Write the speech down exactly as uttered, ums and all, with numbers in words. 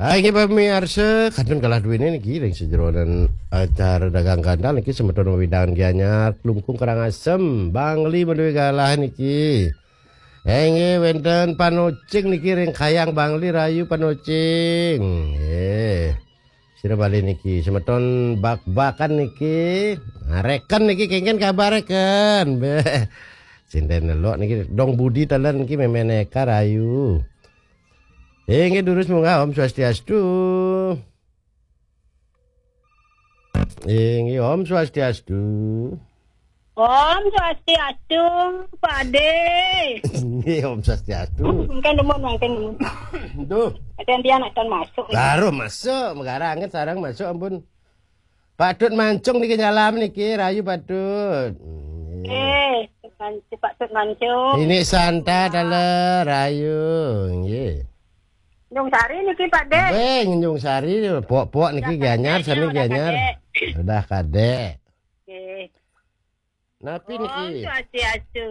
Hai, inggih pamiarsa, kantun galah duene niki ring sajeroning acara dagang ganal niki semeton wewidangan Gianyar, Klungkung Karangasem, Bangli maduwe galah niki. Inggih wenten Panocing niki ring Kayang Bangli, rahayu Panocing. Nggih. Sira malih niki semeton Bak-bakan niki. Ngareken niki kengken kabare ken. Beh. Sinden nelok niki Dong Budi talen niki memeneka rahayu. Inggih durus munggah, Om Swastiastu. Inggih, Om Swastiastu. Om Swastiastu, Pak De. Inggih, Om Swastiastu. Mungkin demun, mungkin demun. Duh. Ada yang dia nak masuk. Baru masuk, megarang sarang masuk, ampun. Patut mancung niki nyalam niki, rahayu patut. Nggih. Eh, man-, patut mancung. Ini Santa tala rahayu, nggih. Nyung Sari niki, Pak De. Weh, Nyung Sari, pok-pok niki Gianyar, sami Gianyar. Udah kadek. Nggih. Napi niki? Om Swastiastu.